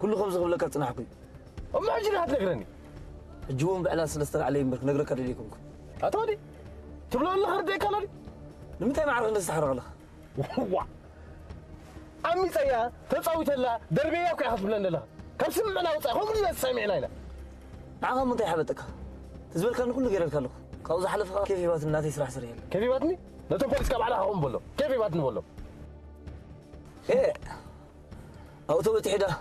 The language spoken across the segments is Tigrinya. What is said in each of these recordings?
ኩሉ ከምዚ ክብለካ ዝጸናሕኩ እዩ። እሞ ሕጂ ዲኻ ትነግረኒ? ሕጂ እውን ብዕላል ስለ ዝተላዕለ እምበር ክነግረካ ደልየ ኣይኮንኩን። ኣታ ወዲ፣ ትብሎ ኣለኻ ርድእ ኣይካሎ ድዩ? ንምንታይ ማዕረ ክንደዚ ትሓርቕ ኣለኻ? ዋ! ዓሚጸያ፣ ተጻዊተላ፣ ደርብየያ እኮ ኢኻ ትብለኒ ዘለኻ። ካብ ስምዕና ወጻኢ ከምኡ ኢልና ተሰሚዕና ኢና። ንዓኻ እሞ እንታይ ሓበጠካ? እቲ ዝበልካኒ ኩሉ ገይረልካ ኣለኹ። ካብኡ ዝሓለፈ ከኣ ኬፍ ሂባትኒ ናተይ ስራሕ ሰሪሐላ። ኬፍ ሂባትኒ? ነቶም ፖሊስ ካብ ባዕልኻ ከምኡ በሎ። ኬፍ ሂባትኒ በሎ። ኤ! ኣብኡ ተበቲሑ ደኣ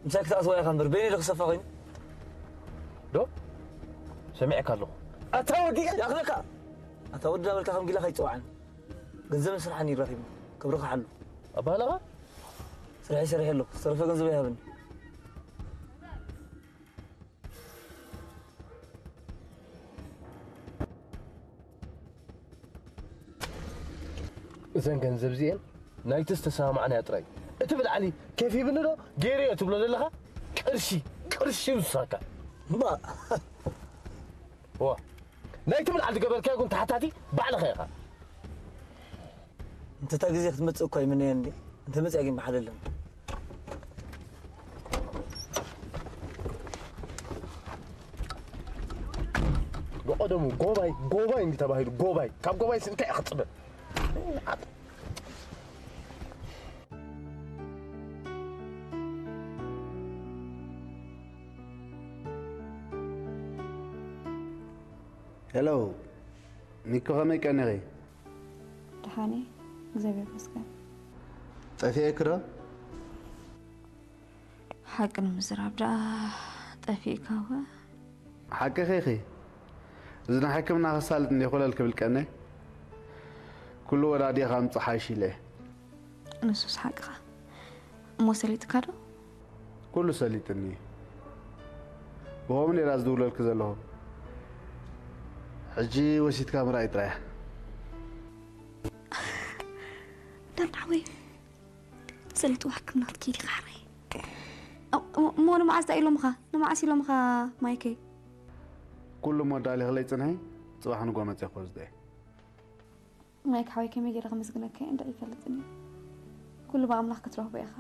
ምሳይ ክትኣትዋ ኢኻ እምበር በይነይ ዶ ክሰፋ ኮይኑ? ዶ? ሰሚዐካ ኣለኹ። ኣታ ወዲ! ይኣኽለካ! ኣታ ወዲ እናበልካ ከም ጊላ ከይትጽውዓኒ። ገንዘብን ስራሕን እዩ ረኺብና። ክብርኻ ሓሉ። ኣባህላኻ? ስርሐይ ሰሪሐ ኣለኹ። ዝተረፈ ገንዘብ ኣይሃብን። እዘን ገንዘብ እዚኤን ናይቲ ዝተሰማማዕናዮ ጥራይ። እቲ ብላዕሊ ኬፍ ሂብኒ ዶ ገይረዮ ትብሎ ዘለኻ ቅርሺ፣ ቅርሺ ይውስኸካ። እምባ። ዋ፣ ናይቲ ብላዕሊ ዝገበርካዮ ግን ተሓታቲ ባዕልኻ ኢኻ። እንተ እታ ግዜ ክትመጽእ እኳ ይምነዮ እንዴ? እንተ መጽኣ ግን ብሓደ ኣለን። ብቐደሙ ጎባይ፣ ጎባይ እንዲ ተባሂሉ፣ ጎባይ። ካብ ጎባይስ እንታይ ኢኻ ትጽበ? ሄሎ፣ ሚኮ ከመይ ቀኒኺ? ደሓን እየ፣ እግዚኣብሔር ይመስገን። ጠፊኤኪ ዶ? ሓቂ ንምዝራብ ደኣ ጠፊእካ ወ? ሓቅኺ ኢኺ። እዚ ናይ ሕክምና ከሳልጥ እንድየ ኮለል ክብል ቀንየ። ኩሉ ወዳዲእኻ ምጽእ ሓይሽ ኢለ እየ። ንሱስ ሓቅኻ። እሞ ሰሊጥካ ዶ? ኩሉ ሰሊጥኒ እዩ። ብኸምኡ ነይራ ዝድውለልኪ ዘለኹ። ሕጂ ወሲድካ ምርኣይ ጥራይ እያ። ዳን ሓወይ፣ ሰሊጥዋ ሕክምና ክትከይድ ኢኻ ሓራይ። እሞ፣ እሞ ንመዓስ ደኣ ኢሎምኻ? ንመዓስ ኢሎምኻ ማይከይ? ኩሉ እሞ ኣዳሊኽለይ ጽንሒ፣ ጽባሕ ንግሆ መጺኤ ክወስዶ እየ። ማይክ ሓወይ ከመይ ገይረ ከመስግነካ እየ እንድዒ ኣይፈልጥን እየ። ኩሉ ብኣምላኽ ክትረኽቦ ኢኻ።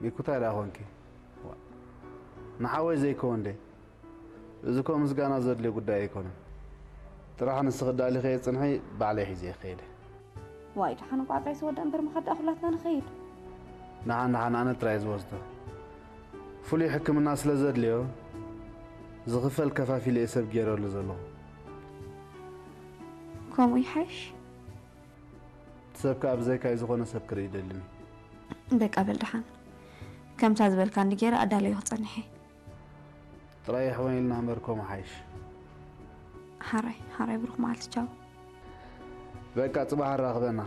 ሚኩ እንታይ ደኣ ኾንኪ? ዋ፣ ንሓወይ ዘይከውን ደይ? እዚ እኮ ምስጋና ዘድልዮ ጉዳይ ኣይኮነን። ጥራሕ ንስኺ ኣዳሊኽዮ ጽንሒ ባዕለይ ሒዘ ክኸይድ እየ። ዋይ ደሓን እንቋዕ ጥራይ ዝወድእ እምበር ምኻድ ደኣ ኩላትና ንኸይድ። ደሓን ደሓን ኣነ ጥራይ ዝወስዶ። ፍሉይ ሕክምና ስለ ዘድልዮ ዝኽፈል ከፋፊለ እየ ሰብ ገይረሉ ዘለኹ። ከምኡ ይሓይሽ። እቲ ሰብ ከኣ ብዘይካይ ዝኾነ ሰብ ክርኢ ይደልን እዩ። በቃ በል ደሓን። ከምታ ዝበልካኒ ገይረ ኣዳለዮ ክጸንሕ እየ። ጥራይ የሕወን ኢልና እምበር ከምኡ ሓይሽ። ሓራይ፣ ሓራይ ብሩኽ መዓልቲ ቻው። በቃ ጽባሕ ኣራኽበና።